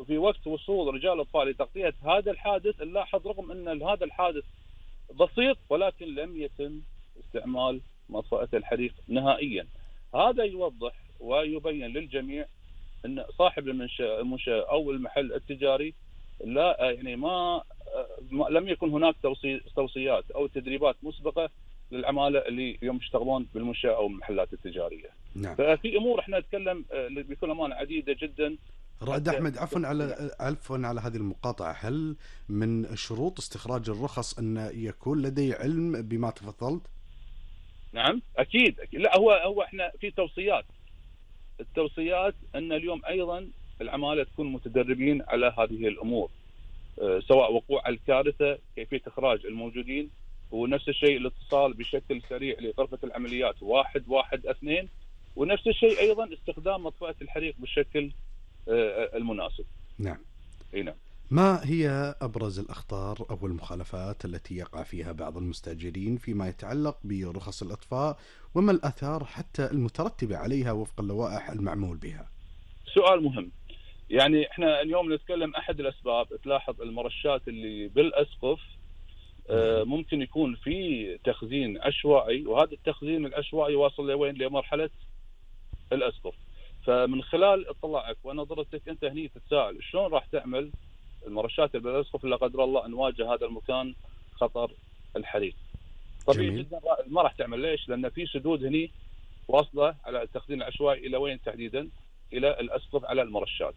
وفي وقت وصول رجال الاطفاء لتغطيه هذا الحادث نلاحظ رغم ان هذا الحادث بسيط ولكن لم يتم استعمال مطفأة الحريق نهائيا. هذا يوضح ويبين للجميع ان صاحب المنشأة او المحل التجاري لا يعني ما لم يكن هناك توصيات او تدريبات مسبقه للعماله اللي اليوم يشتغلون بالمنشأة او المحلات التجاريه. نعم. ففي امور احنا نتكلم بكل امانه عديده جدا. رائد أحمد، عفوا على هذه المقاطعة، هل من شروط استخراج الرخص أن يكون لدي علم بما تفضلت؟ نعم أكيد. لا هو احنا في التوصيات أن اليوم أيضا العمالة تكون متدربين على هذه الأمور، سواء وقوع الكارثة، كيفية إخراج الموجودين، ونفس الشيء الاتصال بشكل سريع لغرفة العمليات 112، ونفس الشيء أيضا استخدام مطفأة الحريق بالشكل المناسب. نعم. نعم. ما هي أبرز الأخطار أو المخالفات التي يقع فيها بعض المستأجرين فيما يتعلق برخص الإطفاء، وما الآثار حتى المترتبة عليها وفق اللوائح المعمول بها؟ سؤال مهم. يعني احنا اليوم نتكلم أحد الأسباب، تلاحظ المرشات اللي بالأسقف ممكن يكون في تخزين عشوائي، وهذا التخزين العشوائي واصل لوين؟ لمرحلة الأسقف. فمن خلال اطلاعك ونظرتك انت هني تتساءل شلون راح تعمل المرشات اللي بالاسقف لا قدر الله ان واجه هذا المكان خطر الحريق. طبيعي جدا ما راح تعمل. ليش؟ لان في سدود هني واصله على التخزين العشوائي الى وين تحديدا؟ الى الاسقف على المرشات.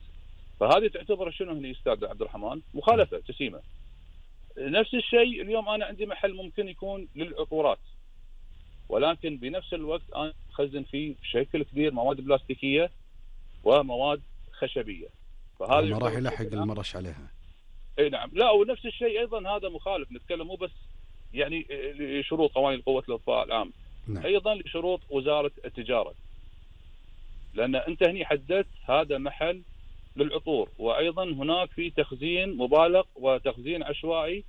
فهذه تعتبر شنو هني استاذ عبد الرحمن؟ مخالفه جسيمه. نفس الشيء اليوم انا عندي محل ممكن يكون للعطورات، ولكن بنفس الوقت انا اخزن فيه بشكل كبير مواد بلاستيكيه ومواد خشبيه. فهذا ما راح يلحق المرش عليها. اي نعم. لا ونفس الشيء ايضا هذا مخالف. نتكلم مو بس يعني لشروط قوانين قوه الاطفاء العام، نعم. ايضا لشروط وزاره التجاره، لان انت هني حددت هذا محل للعطور، وايضا هناك في تخزين مبالغ وتخزين عشوائي.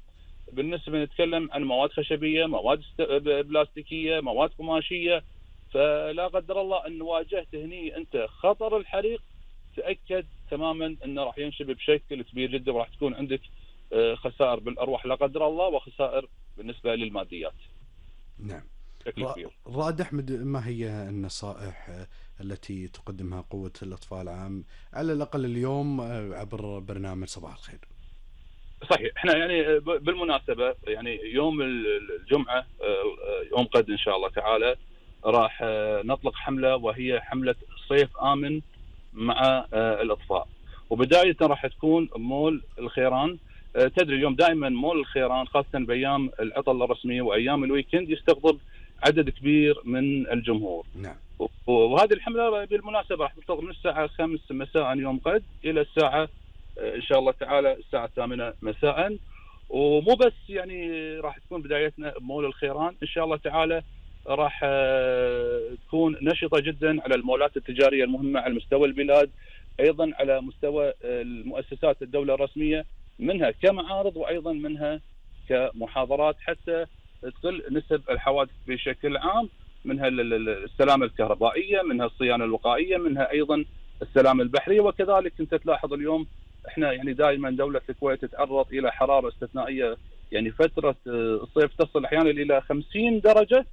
بالنسبه نتكلم عن مواد خشبيه، مواد بلاستيكيه، مواد قماشيه. فلا قدر الله ان واجهت هني انت خطر الحريق، تاكد تماما انه راح ينشب بشكل كبير جدا، وراح تكون عندك خسائر بالارواح لا قدر الله، وخسائر بالنسبه للماديات. نعم. رائد أحمد، ما هي النصائح التي تقدمها قوة الأطفاء العام على الأقل اليوم عبر برنامج صباح الخير؟ صحيح. احنا يعني بالمناسبة يعني يوم الجمعة يوم قد ان شاء الله تعالى راح نطلق حملة، وهي حملة صيف آمن مع الأطفاء. وبداية راح تكون مول الخيران. تدري اليوم دائما مول الخيران خاصة بأيام العطلة الرسمية وأيام الويكند يستقطب عدد كبير من الجمهور. نعم. وهذه الحملة بالمناسبة راح تنطلق من الساعة 5 مساء يوم قد إلى الساعة إن شاء الله تعالى الساعة 8 مساء. ومو بس يعني راح تكون بدايتنا بمول الخيران، إن شاء الله تعالى راح تكون نشطة جدا على المولات التجارية المهمة على مستوى البلاد، أيضا على مستوى المؤسسات الدولة الرسمية، منها كمعارض وأيضا منها كمحاضرات، حتى تقل نسب الحوادث بشكل عام، منها السلامة الكهربائية، منها الصيانة الوقائية، منها أيضا السلامة البحرية. وكذلك أنت تلاحظ اليوم احنا يعني دائما دولة الكويت تتعرض إلى حرارة استثنائية، يعني فترة الصيف تصل أحيانا إلى 50 درجة،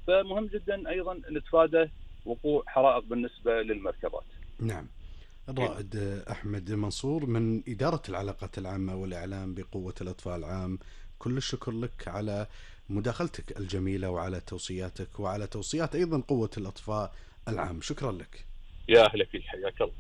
فمهم جدا أيضا نتفادى وقوع حرائق بالنسبة للمركبات. نعم. الرائد أحمد منصور من إدارة العلاقات العامة والإعلام بقوة الأطفاء العام، كل الشكر لك على مداخلتك الجميلة وعلى توصياتك وعلى توصيات أيضا قوة الأطفاء العام. شكرا لك. يا أهلا فيك، حياك الله.